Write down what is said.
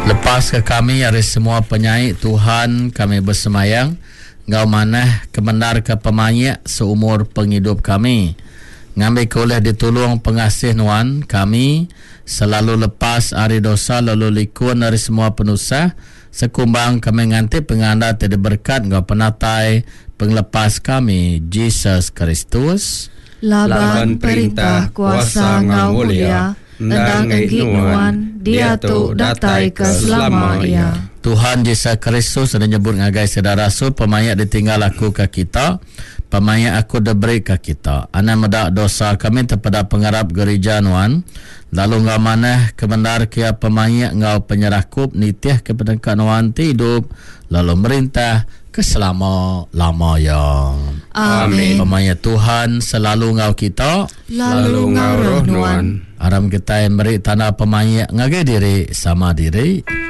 Lepaska kami ari semua penyai, Tuhan, kami besemayang enggau manah kemendarka pemaik seumur pengidup kami. Ngambika ulih ditulung pengasih Nuan, kami selalu lepas ari dosa lalu likun ari semua penusah, sekumbang kami nganti penganda ti diberekat enggau penatai Pengelepas kami, Jesus Kristus. Laban perintah, kuasa enggau mulia endang enggi Nuan, diatu datai ke selama iya. Tuhan Jesus Kristus udah nyebut ngagai sida rasul, Pemaik ditinggal aku ke kita, pemaik aku diberi ke kita. Anang meda dosa kami tepeda pengarap gerija Nuan, lalu enggau manah kebendar ke iya pemaik enggau penyerakup nitih ke peneka Nuan ti idup lalu merintah ke selama lama iya. Amin. Pemaik Tuhan selalu enggau kita. Lalu enggau roh nuan. Aram kitai meri tanda pemaik ngagai diri sama diri.